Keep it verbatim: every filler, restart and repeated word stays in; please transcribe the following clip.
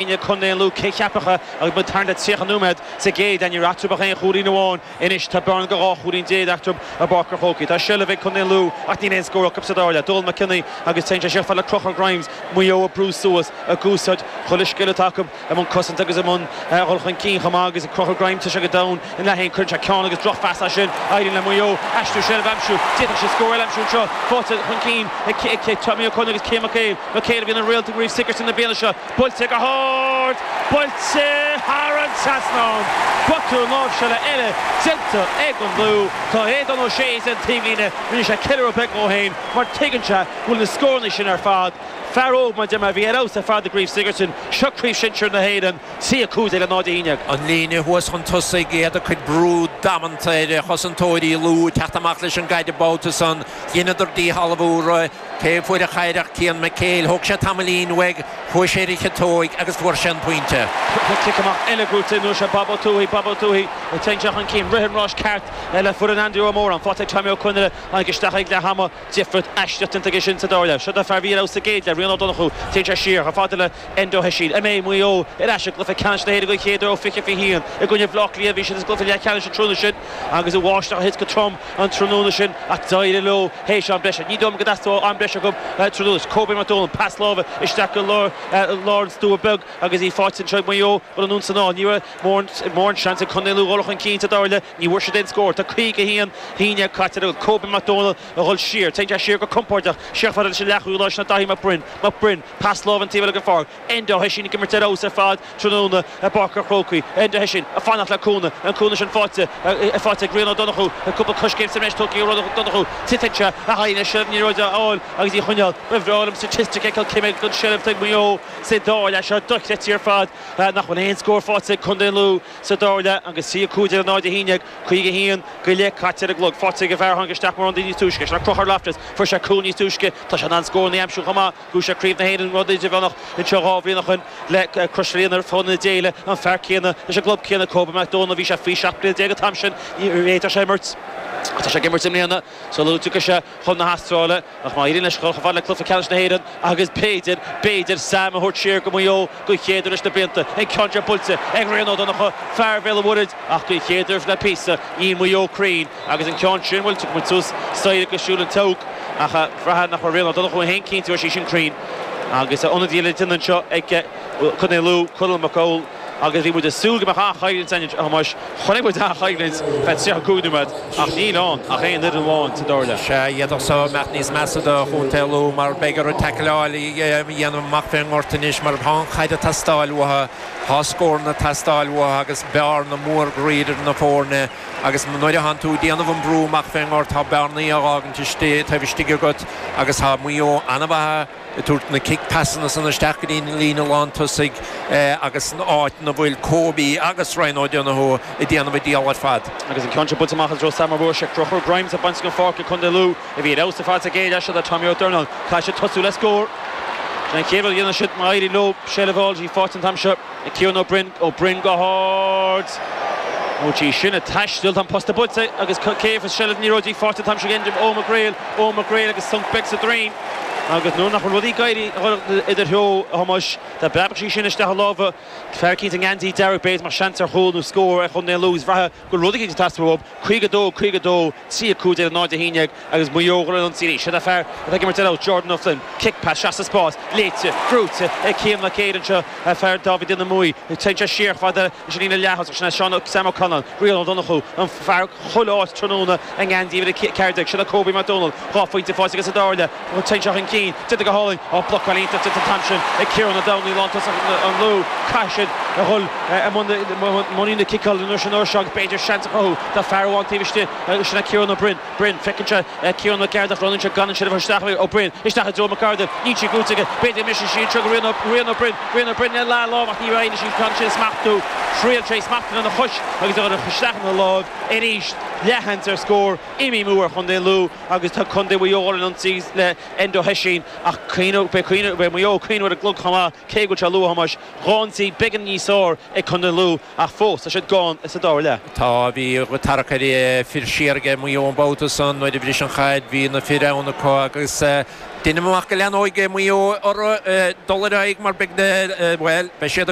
Contae Lú cé cheapacha agus mu tar tríocha nóiméad sa gcéad ní raibh ach aon chúilín amháin anois tá bearna go dhá chúilín déag eatarthu i bPáirc an Chrócaigh. Tá seilbh ag Contae Lú ach níl aon scór acu sa dara leath. Dónal McKinney agus téann sé siar fad le Conchúr Grimes Maigh Eo ag brú suas ag úsáid chuile scil atá acu i mbun cosanta agus i mbun dhul chun cinn chomh maith agus Conchúr Grimes tá sé go domhain in leath haon cuireann sé ceann agus drochphas as sin éiríonn le Maigh Eo aistriú seilbh a aimsiú d'fhéadfadh sé scór eile a aimsiú anseo faighte chun cinn ag Tommy Ó Conaire agus Cian McHale McHale a bhí ina réalt i gCraobh Sigerson na bliana seo buailte go hard buailte thar an trasnán Botún láimhseála eile déanta ag an Lú Tá Aodán Ó Sé an taobhlíne rinne sé ceiliúradh beag dó féin mar tuigeann sé go bhfuil na scóranna sin ar fad fear óg mar de mar bhí ar fheabhas ar fad i gCraobh Sigerson seo Craobh Shinsir na hÉireann trí a cúig déag le náid a haon déag. An líne thuas chun tosaigh iad ag cur brú damanta ar chosantóirí Lú teacht amach leis an gcaid an babhta san dheineadar díshealbhú cé fuair an chaid ach Cian McHale thóg sé tamaillín uaidh chuaigh sé ar a chiotóig agus fuair sé an pointe. Cic amach eile gnóthaithe nó sé Bob Ó Tuathaigh Bob Ó Tuathaigh téann sé chun cinn rith an ráis ceart le fuair an Andrew Ó Mór an faighte ag Tommy Ó Conaire tháinig isteach ag leath ama difríocht aisteach déanta aige sin sa dara leath. Seo do fear bhí sa gcéad leath Rian Ó Donnchú téann sé siar chomh fada le Enda Ó hOisín. An mbeidh Maigh Eo ar ais i gcluiche ceannais na hÉireann den chéad uair ó fiche fiche haon i gcoinne Bhaile Átha Cliath bhí siad is gcluiche leathcheannais an tráthnóna sin agus an bháisteach a thit go trom an tráthnóna sin ach d'éirigh leo théis am breise. Ní dóigh go dteastódh am breise acu tráthnóna. Kobe McDonald pas láimhe isteach go lár lár an stua beag agus í faighte anseo Maigh Eo bhfuil an san ní raibh mórán seans ag Contae Lú dhul chun cinn sa dara leath ní bhfuair siad aon scór Tá caoga haon haon caite Kobe McDonald a dhul siar Téann sé siar go compordach siar fad leis an leathchúlaí leis na Daithí Mac Broin Mac Broin pas láimhe an taobh eile den pháirc Enda Ó hOisín ag imirt ar fheabhas ar fad tráthnóna i bPáirc an Chrócaigh Enda Ó hOisín ag fanacht le cúnamh an cúnamh sin faighte faighte ag Rian Ó Donnchú cúpla coiscéim sa mbreis tógtha Ó Donnchú titeann sé a haghaidh seilbh na liathróide a fháil agus í choinneáil Ba bhreá liom statistic fheiceáil cé mhéad den seilbh ag Maigh Eo sa dara leath seo dochreidte ar fad nach bhfuil aon scór faighte ag Contae Lú sa dara leath agus trí a cúig déag náid a haon déag caoga haon go leith caite ar an gclog faighte ag an bhfear tháinig isteach mar ionadaí níos túisce sin Conchúr Loftus fuair sé cúl níos túisce tá sé an scór na aimsiú chomh maith bhuaigh sé Craobh na hÉireann rud idirmheánach anseo dhá bhliain ó shin le Crois Líonar fón na déile an fear céanna leis an gclub céanna Kobe McDonald bhí sé faoi seacht bliana déag an t-am sin ní fhéadfadh sé imirt Tá sé ag imirt i mbliana sula dtiocfaidh sé chun na hAstráile ach má éiríonn leis chomh fada le cluiche ceannais na hÉireann agus b'fhéidir b'fhéidir Sam a thabhairt siar go Maigh Eo den chéad uair leis na blianta an ceann seo buailte ag Rian Ó Donnchú fear Bhéal an Mhuirthead ach den chéad uair le píosa níl Maigh Eo cruinn agus an ceann sin bhfuil muid suas staighre go siúl an teach ach bhraithfeá nach raibh Rian Ó Donnchú féin cinnte go raibh sí sin cruinn agus ionadaí le déanamh anseo ag Contae Lú Conall Mac Cóil agus bhí muid ag súil go mbeadh an-choimhlint ann a Thomáis chonaic muid an-choimhlint feadh tríocha cúig nóiméad ach níl ann ach aon fhoireann amháin sa dara leath. Sé iadach so mbeadh níos measa do Chontae Lú mar beidh orthu taicleáil a dhéanamh amach fén ngort anois mar tá an chaid ag teastáil uathu tá scóranna ag teastáil uathu agus bearna mór groí idir na foirne agus nuair a thánn tú ag déanamh an brú amach fén ngort tá bearnaí á fhágaint istigh taobh istigh agat agus tá Maigh Eo an-mhaith ag tabhairt na cic pasanna san isteach go dtí líne lántosaigh agus an áit ina bhfuil Kobe agus Ryan O'Donoghue ag déanamh a dícheall ar fad. Agus an ceann seo buailte amach i Sam Bhuair sé Conchúr Grimes a baint an pháirc Contae Lú a bhí ar fheabhas ar fad sa gcéad leath seo le Tommy Ó Dornáin Caithfidh siad tosú le scór. An chéad rud a dhéanann siad má éiríonn leo seilbh a fháil í faighte an t-am seo ag Ciarán Ó Broin Ó Broin go hard. Ó tí sin ag taisteal tá an posta buailte agus cé seilbh na liathróide faighte an t-am seo ag Ó McGrail Ó McGrail agus sonc beag sa droim. Agus nuair nach bhfuil rudaí ag éirí idir theo a Thomáis Tá breabach sí sin isteach i lámha fear eicínt i ngeansaí dearg b'fhéidir mar seans ar chúl nó scór ar Chontae Lú bhraithfeá go bhfuil rud eicínt ag teastáil uathu caoga dó caoga dó trí a cúig déag náid a haon déag agus Maigh Eo ag ionsaí arís. Sin é fear atá ag imirt ar fheabhas Jordan O'Flynn kick pass isteach sa spás léite brúite ag Cian McCabe anseo fear Dáibhí Duine Muí téann sé siar fada leis an líne leath sin é Seán Sam O'Connell Rian Ó Donnchú an fear chuile áit tráthnóna i ngeansaí uimhir a ceathair déag sin é Kobe McDonald dhá phointe faighte aige sa dara leath téann sé chun cinn déanta go hálainn á blocáil iontach déanta an t-am sin ag Ciarán Ó Domhnaill lántosach an Lú caithfidh siad a dhul i mbun na ciceála an uair sin uair seo agus b'fhéidir seans a chruthú tá fear amháin taobh istigh sin é Ciarán Ó Broin Broin feiceann sé Ciarán Mac Gearailt roinneann sé gan an seilbh isteach Ó Broin isteach i dtreo Mac Ardle níl sí gnóthaithe aige b'fhéidir go mbeidh sí anseo go Rian Rian Ó Broin Rian Ó Broin le leath lámh ach ní raibh sí gan sin smachtú thriail sé smachtú lena chois agus a chur isteach ina láimh arís Leathsheans ar scór imithe amú ar Chontae Lú agus tá Contae Mhaigh Eo ar an ionsaí le Enda Ó hOisín ach beidh Maigh Eo ag cuimhneamh ar an gclog chomh maith cé go bhfuil sé luath Thomáis dhá ionsaí beagán níos fearr ag Contae Lú ach fós tá siad gann sa dara leath. Tá bhí tarrac ar fir siar ag Maigh Eo an babhta san nuair a bhris an chaid bhí na fir ann acu agus Déanaim amach go leanfaidh Maigh Eo orthu dul ar aghaidh mar beidh well beidh siad